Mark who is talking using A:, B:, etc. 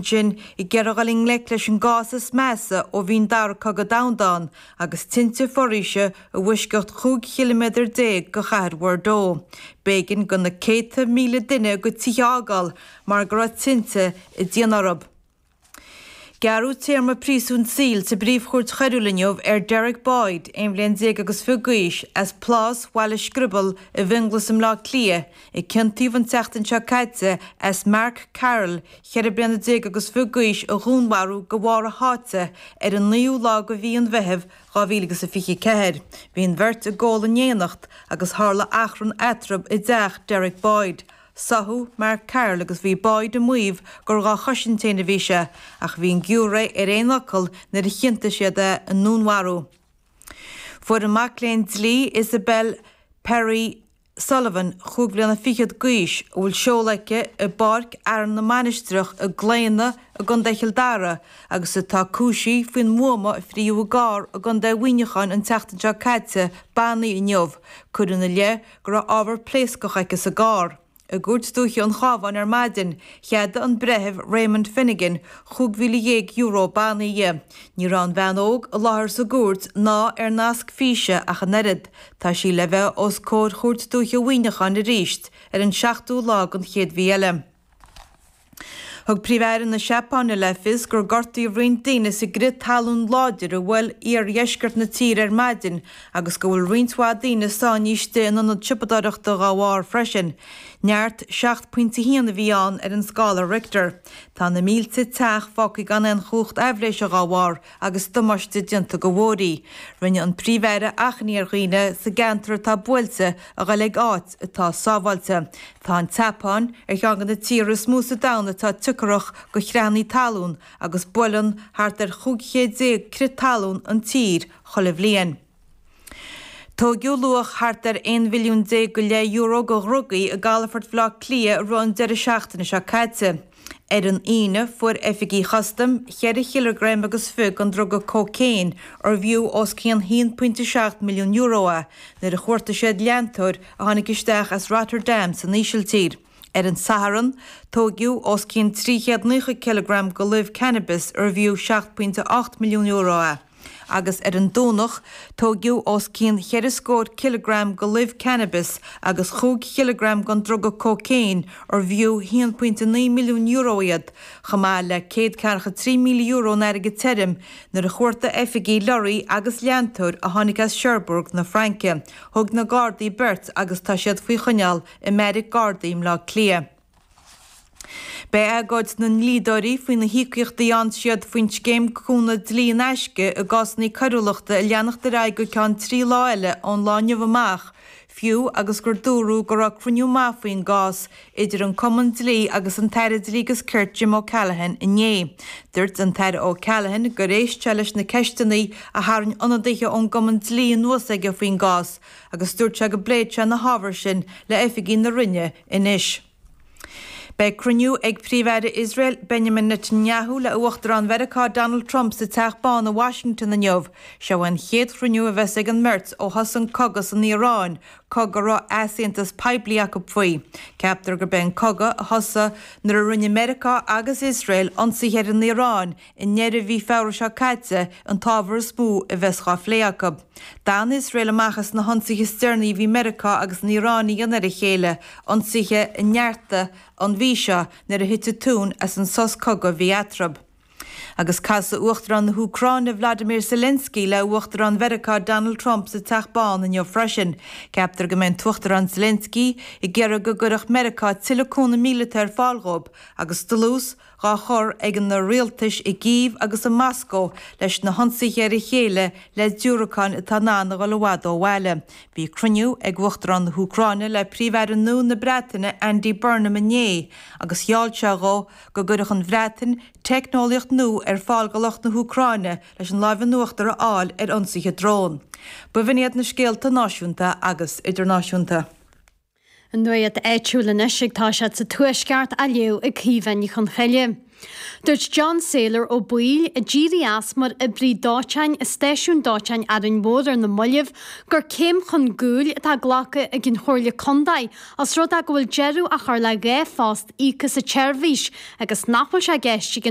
A: ansin ag iarraidh dhul i ngleic leis an gcás is measa ó bhí an Dara Cogadh Domhanda ann agus tinte foraoise i bhfoisceacht 15 chiliméadar de chathair Bhordeaux. B'éigean do na céadta míle duine a gcuid tithe a fhágáil mar go raibh tinte ag déanamh orthu. Gearradh téarma príosúin saoil sa bPríomh-Chúirt Choiriúil inniu ar Derek Boyd, 11 bhliain agus fiche d'aois, as Plás Bhaile Scriobail i bhFionnghlas i mBleá Cliath, a ciontaíodh an tseachtain seo caite as Mark Carroll, 14 bliana agus fiche d'aois, a dhúnmharú de bharr a sháite ar an naoú lá de mhí an Mheithimh 2024. Bhí an bheirt ag ól in éineacht agus tharla achrann eatarthu i dteach Derek Boyd. Sáthadh Mark Carroll agus bhí Boyd ag maíomh gur dhá chosaint féin a bhí sé, ach bhí an giúiré ar aon fhocal nuair a chiontaigh siad é i ndúnmharú. Fuair an mac léinn dlí Isabel Perry Sullivan, chúig bhliana fichead d'aois, a bhfuil seoladh aici i bPáirc Fhearann na Mainistreach i gClaonadh i gContae Chill Dara agus atá cúisithe faoin mbuama a frítheadh i gcarr i gContae Mhuineacháin an tseachtain seo caite, bannaí inniu. Cuireadh ina leith go raibh ábhar pléascach aici sa gcarr. I gCúirt Dúiche an Chabháin ar maidin, cheadaigh an Breitheamh Raymond Finnegan €15,000 bannaí di. Ní raibh an bhean óg i láthair sa gcúirt ná ar nasc físe ach an oiread. Tá sí le bheith os comhair Chúirt Dúiche Mhuineacháin arís ar an seachtú lá den chéad mhí eile. Thug Príomh-Aire na Seapáine le fios gur gortaíodh roinnt daoine sa gcrith talún láidir a bhuail iardheisceart na tíre ar maidin agus go bhfuil roinnt mhaith daoine sáinnithe istigh in ionad siopadóireachta dhá bharr freisin. Neart 7.1 a bhí ann ar an scála Richter. Tá na mílte teach fágtha gan aon chumhacht aibhléise dhá bharr agus damáiste déanta do bhóithrí. Rinne an Príomh-Aire achainí ar dhaoine sa gceantar atá buailte a ghoil ag áit atá sábháilte. Tá an tSeapáin ar cheann de na tíortha is mó sa domhan atá tioncharach do chreathanna talún agus buaileann thart ar 15 chéad crith talún an tír chuile bhliain. Tóigeadh luach thart ar 11 mhilliún go leith euro de dhrugaí i gcalafort Bhaile Átha Cliath i rith an deireadh seachtaine seo caite. Ar an Aoine, fuair oifigigh chustaim cheithre chileagram agus fiche den druga cócaon, arbh fhiú os cionn €1.7 milliún é, nuair a chuartaigh siad leantóir a tháinig isteach as Rotterdam san Ísiltír. Ar an Satharn, tóigeadh os cionn 390 cileagram de luibh cannabis arbh fhiú €7.8 milliún é. agus ar an Domhnach tóigeadh os cionn cheithre scór cileagram de luibh cannabis agus chúig chileagram den druga cócaon arbh fhiú €1.9 milliún iad, chomh maith le €143,000 in airgead tirim, nuair a chuartaigh oifigigh lorraí agus leantóir a tháinig as Cherbourg na Fraince. Thóg na Gardaí beirt agus tá siad faoi choinneáil i mbeairic Gardaí i mBleá Cliath. Beidh agóid na ndlíodóirí faoi na híocaíochtaí a fhaigheann siad faoin scéim cúnamh dlí in aisce i gcásanna coiriúlachta ag leanacht ar aghaidh go ceann 3 lá eile ón lá inniu amach, fiú agus gur dúradh go raibh cruinniú maith faoin gcás idir an Cumann Dlí agus an tAire Dlí agus Cirt Jim O'Callaghan inné. Dúirt an tAire O'Callaghan gur éist sé leis na ceisteanna a tharraing ionadaithe ón gCumann Dlí anuas aige faoin gcás agus dúirt sé go bpléifidh sé na hábhair sin le oifigigh na Roinne anois. Beidh cruinniú ag Príomh-Aire Iosrael Benjamin Netanyahu le Uachtarán Mheiriceá Donald Trump sa Teach Bán i Washington inniu. Seo é an chéad chruinniú a bheas ag an mbeirt ó thosaigh an cogadh san Iaráin, cogadh a raibh easaontas poiblí acu faoi. Ceaptar gurb é an cogadh a thosaigh nuair a rinne Meiriceá agus Iosrael ionsaithe ar an Iaráin i ndeireadh mhí Feabhra seo caite an t-ábhar is mó a bheas dhá phlé acu. D'fhan Iosrael amach as na hionsaithe is deireanaí a bhí Meiriceá agus an Iaráin a dhéanamh ar a chéile, ionsaithe a neartaigh an mhí seo nuair a thit an tóin as an sos cogaidh a bhí eatarthu. Agus casfaidh Uachtarán na hÚcráine Vladimir Zelensky le Uachtarán Mheiriceá Donald Trump sa Teach Bán inniu freisin. Ceaptar go mbeidh an tUachtarán Zelensky ag iarraidh go gcuirfeadh Meiriceá tuilleadh cúnamh míleata ar fáil dhóibh agus dlús dhá chur ag na rialtais i gCív agus i Moscó leis na hionsaithe ar a chéile le diúracáin atá in ann a dhul i bhfad ó bhaile. Bhí cruinniú ag Uachtarán na hÚcráine le Príomh-Aire nua na Breataine Andy Burnham inné agus gheall sé dhó go gcuirfeadh an Bhreatain teicneolaíocht nua ar fáil do lucht na hÚcráine leis an láimh in uachtar a fháil ar ionsaithe drón. B'in iad na scéalta náisiúnta agus idirnáisiúnta.
B: An nuacht áitiúil anois ag toiseacht sa Tuaisceart á léamh ag Caoimhe Ní Chonchoille. Dúirt John Saylor Ó Baoill, a d'éirigh as mar oibrí dóiteáin i Stáisiún Dóiteáin Árainn Mhór ar na mallaibh, gur céim chun gcúil atá glactha ag an Chomhairle Contae os rud é go bhfuil deireadh á chur le 2 phost íoctha sa tseirbhís agus nach bhfuil sé i gceist ag an.